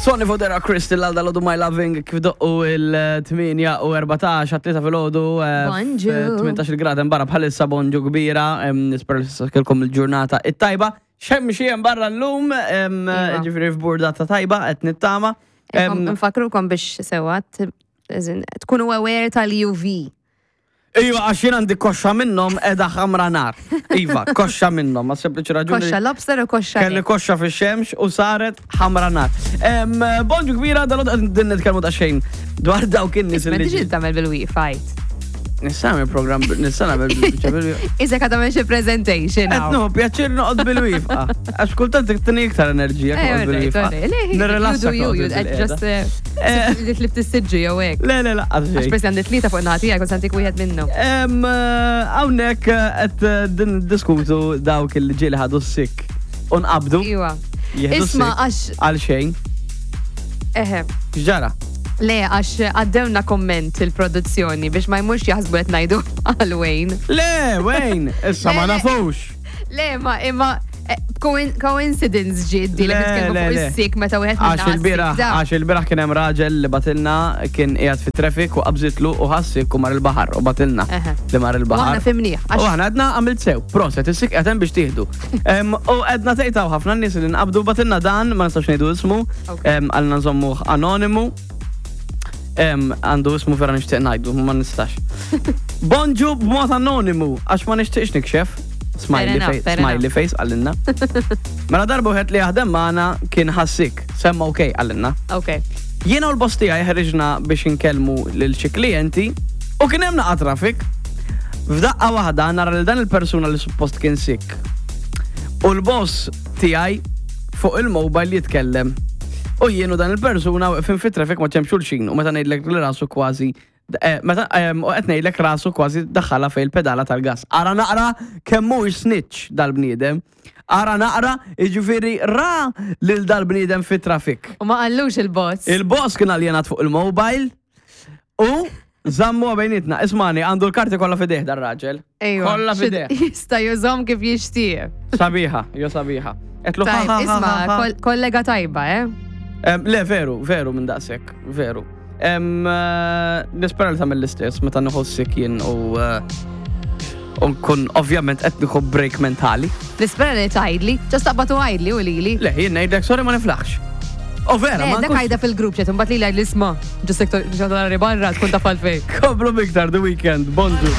Sonny Fodera Crystal għal dal My Loving kif doqqu il-8 u 14 għat-tlieta fil-ħodu. Bonġu. 18 grad hemm barra bħalissa bonġu kbira, nispera li s-kelkom il-ġurnata it-tajba. Xem xi hemm barra llum, Iva. ġifieri f'burdata tajba qed nittama. Nfakrukom biex sewa tkunu aware tal-UV. Iva, għax jien għandi koxxa minnhom qiegħda ħamra nar. Iva, koxxa minnhom, ma sempliċi raġuni. Koxxa lobster u koxxa. Kelli koxxa fix-xemx u saret ħamra nar. Bonġu kbira, dal din nitkellmu ta' xejn dwar dawk in-nies Ma li. tiġi tagħmel bil-wifi. Nista' nagħmel programm, nista' nagħmel bil-wifi. Iżek għadha xi presentation. Qed nieħu pjaċir noqgħod bil-wifqa. Għax kultant tini iktar enerġija Eh, noqgħod bil-wifqa. Nirrelassa You do you, noqgħod you bil-qiegħda. just eh, li tlift is-siġġu jew hekk. Le, le, laqqas Għax xejn. persi għandi tlieta fuq naħa tiegħek u santik wieħed minnhom. Hawnhekk qed din diskutu dawk il ġieli ħadu s-sik u nqabdu. Iwa. Jieħdu Isma' s-sik għax għal xejn. eħe. X'ġara? Le, għax għaddewna komment il-produzzjoni biex ma jmurx jaħsbu qed ngħidu għal Wayne. Le, Wayne, issa ma Le, le. nafux. Le, ma imma eh, coincidence ġiet di li Le, nitkellmu le, fuq le. is-sik meta wieħed Għax minna il-biraħ, għas-sik da. għax il-biraħ kien hemm raġel li batilna kien qiegħed fit traffic u qabżitlu u ħassik u mar il-baħar u batilna Eħe. li mar U il-baħar. aħna fimnieh, U għax aħna għedna għamilt sew, proset, is-sik qed hemm biex tieħdu. U għedna tgħid hawn ħafna nies li nqabdu batilna dan, ma nistax ngħidu ismu, Ok. għalna nżommuh anonimu. Għandu ismu vera nixtieq ngħidu, ma nistax. Bonġu b'mod anonimu, għax ma nixtieqx nikxef. Smiley Fair enough, face, fair enough. smiley face għallinna. Mela darba wieħed li jaħdem magħna kien ħassik, semma ok għallinna. Ok. Jiena u l-boss tiegħi ħriġna biex inkellmu lil xi klijenti u kien hemm naqa' traffic. F'daqqa waħda nara lil dan il-persuna li suppost kien sik. U l-boss tiegħi fuq il-mobile jitkellem. U jien u dan il-persuna weqfin fit-traffic ma ċemx xulxin u meta ngħidlek li rasu kważi eh, meta u qed ngħidlek rasu kważi daħħalha fejn il-pedala tal-gas. Ara naqra kemm mhuwiex snitch dal-bniedem. Ara naqra, jiġifieri ra lil dal-bniedem fit-traffic. U ma qallux il-boss. Il-boss kien aljenat fuq il-mobile u zammu bejnietna. Ismani, għandu l-karti kollha fideh dar-raġel. Ejwa. Kollha xi- fideh. Jista' jużhom kif jixtieq. Sabiħa, jo sabiħa. Etlu ha, Tajb, ha, ha, isma, ha, ha. kollega tajba, eh? Le, veru, veru minn daqshekk, veru. Nispera li tagħmel l-istess meta nieħu sick jien u eh, u nkun ovvjament qed nieħu break mentali. Nispera li tgħidli, ġast taqbad u għidli u lili. Le, jien ngħidlek sorry ma niflaħx. U vera, Le, ma dak nkunx- għajda fil-grupp ċet, mbagħad li għajd l-isma. Ġust sektor ġodari barra tkun taf għalfejn. Komplu miktar the weekend, bonġu.